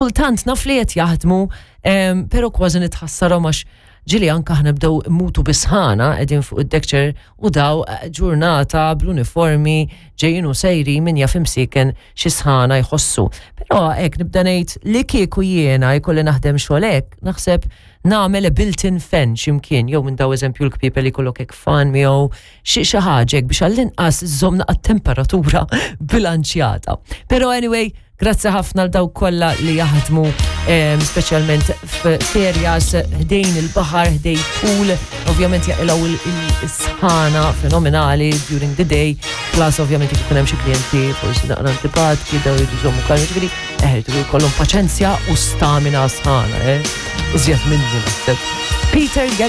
Kultant naf li qed jaħdmu, però kważi nitħassarhom għax ġieli anke aħna bdew mutu bisħana qegħdin fuq id-deckchair u daw eh, ġurnata bl-uniformi ġejjin u sejri min jaf imsiken xi sħana jħossu. Però hekk nibda ngħid li kieku jiena jkolli naħdem xogħol hekk, naħseb nagħmel a built-in fan x'imkien jew minn daw eżempju l-kpiepel li jkollok hekk fan miegħu xi xi ħaġa hekk biex għall-inqas iżżomm naqa' temperatura bilanċjata. Però anyway, Grazzi ħafna l dawk kollha li jaħdmu speċjalment f'areas ħdejn il-baħar, ħdejn pool, ovvjament jaqilgħu il-sħana fenomenali during the day, plus ovvjament jekk ikun hemm xi klijenti forsi naqra antipatki daw jridu jżommu kalmi, ġifieri eh, jridu jkollhom paċenzja u stamina sħana, eh? Iżjed minni naħseb. Peter.